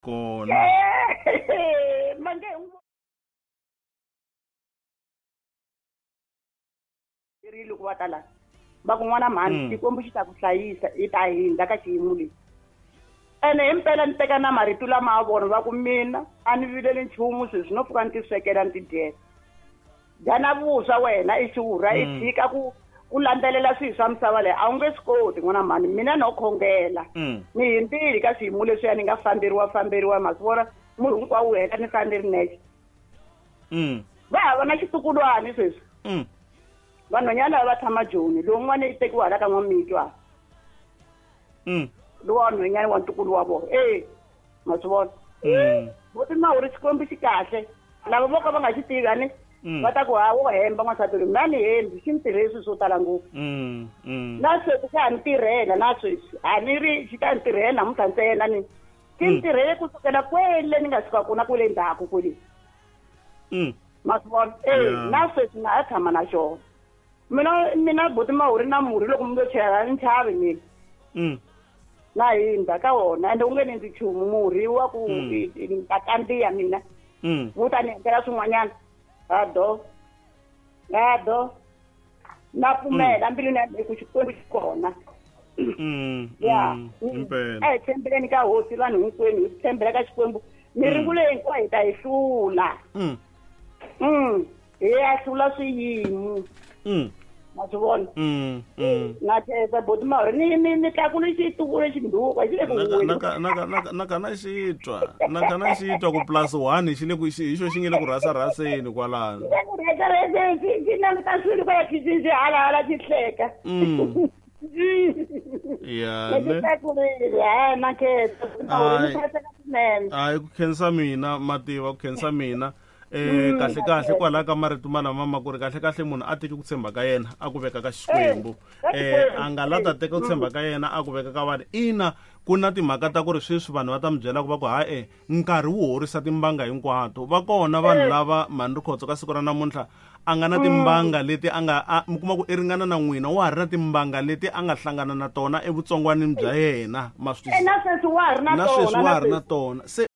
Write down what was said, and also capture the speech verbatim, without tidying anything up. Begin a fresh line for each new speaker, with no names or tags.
Kona
mange ri loko va ta la va ku n'wana mhani Xikwembu xi ta ku hlayisa i ta hindza ka xiyimo lexi. Ene himpela ni teka na marito lama a vona va ku mina a ni vileli nchumu sweswi no pfuka ni ti swekela ni ti dyela. Dyana vuswa wena i xurha i tshika ku ku landzelela swilo swa misava leyi a wu nge swi koti n'wana mhani mina no khongela. Ni hindzile ka swiyimo leswiya ni nga famberiwa famberiwa ma swi vona murhi hinkwawo wu hela ni sala ni ri nexe. Va hava na xitukulwana sweswi. Vanhwanyana lava va tshama Joni lowun'wana i tekiwa hala ka N'wamitwa. Lowa nhwanyana wa ntukulu wa vona e ma swi vona. Buti Mawuri Xikwembu xi kahle lava vo ka va nga xi tivi a ni va ta ku ha wo hemba n'wansati loyi mina ni hembi xi ni tirhele swilo swo tala ngopfu. Na sweswi xa ha ni tirhela na sweswi a ni ri xi ta ni tirhela namuntlha ntsena ni xi ni tirhele kusukela kwele ni nga suka kona kwele ndzhaku kwele. Ma swi vona e na sweswi na ha tshama na xona. Mina mina buti Mawuri na murhi loko mi lo chela ni chavi mina. Na hindza ka wona ende u nge ni ndzi nchumu murhi wa ku ni ta kandziya mina. Wu ta ni endlela swin'wanyana. A do. A do. Na pfumela mbilwini ya mina ku Xikwembu xi kona. Ya. A hi tshembeleni ka hosi vanhu hinkwenu hi tshembela ka Xikwembu. Miringo leyi hinkwayo hi ta yi hlula. Hi ya hlula swiyimo. Ma swi vona. Na khensa buti Mawuri ni ni ni tlakule xituku lexi nduka xi le ku huweni.
Naka naka naka naka na xitwa naka na xitwa ku plus one xi le ku hi xo xi nge le ku rhasa rhaseni kwalano.
Xi le ku rhasa rhaseni xi xi languta swilo kwala khixini xi hala hala xi hleka.
Ya
ne. Tlakurile ha na khensa buti Mawuri ni khensa swinene.
Hayi ku khensa mina mativa ku khensa mina. Eh kahle kahle kwala ka marito malama ma ku ri kahle kahle munhu a teki ku tshemba ka yena a ku veka ka Xikwembu. Eh a nga la ta teka ku tshemba ka yena a ku veka ka vanhu. Ina ku na timhaka ta ku ri sweswi vanhu va ta mi byela ku va ku ha e nkarhi wu horisa timbanga hinkwato. Va kona vanhu lava mhani Rikhotso ka siku ra namuntlha a nga na timbanga leti a nga mi kuma ku i ringana na n'wina wa ha ri na timbanga leti a nga hlangana na tona evutsongwanini bya yena ma swi
twisisa. Na sweswi wa ha ri na
tona. Na sweswi wa ha ri na tona. Se